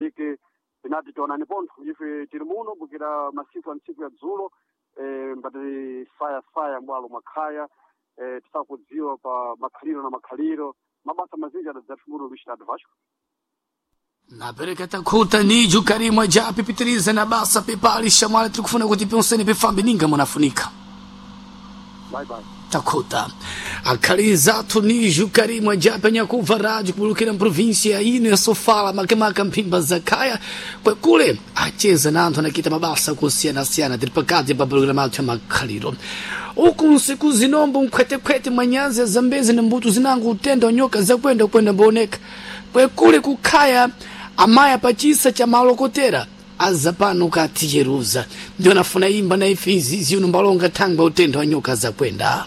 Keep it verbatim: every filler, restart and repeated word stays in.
Mosambike tinati tionani pontho ife tili muno bukira masiku a ntsiku ya dzulo eh, mbati fayafaya mbwalo mwakhaya eh, tisakudziwa pa makhaliro na makhaliro mabasa mazinji adadzathu muno Luís Dado Vasco. Napereka takhuta niju karimwa japi pitiriza na basa pepali shamwali tikufuna kuti pionseni pifambe ninga munafunika. Bye bye. Takhuta akhali zathu niju karimwa japi anyakuva rádio kubulukira mprovinsia ino ya Sofala makamaka mphimba za khaya kwekule acheza na anthu anakita mabasa kusiyanasiyana tili pakati pa programa athu ya makhaliro uku nsiku zinombo mkhwetekhwete mwanyanzi ya Zambezi na mbuto zinango utenda nyoka zakwenda kwenda mbooneka kwekule kukhaya amaya pachisa cha malokotera aza pano kati Jerusa ndio nafuna imba na ife izizi uno mbalonga thangwa utenda wa nyoka zakwenda.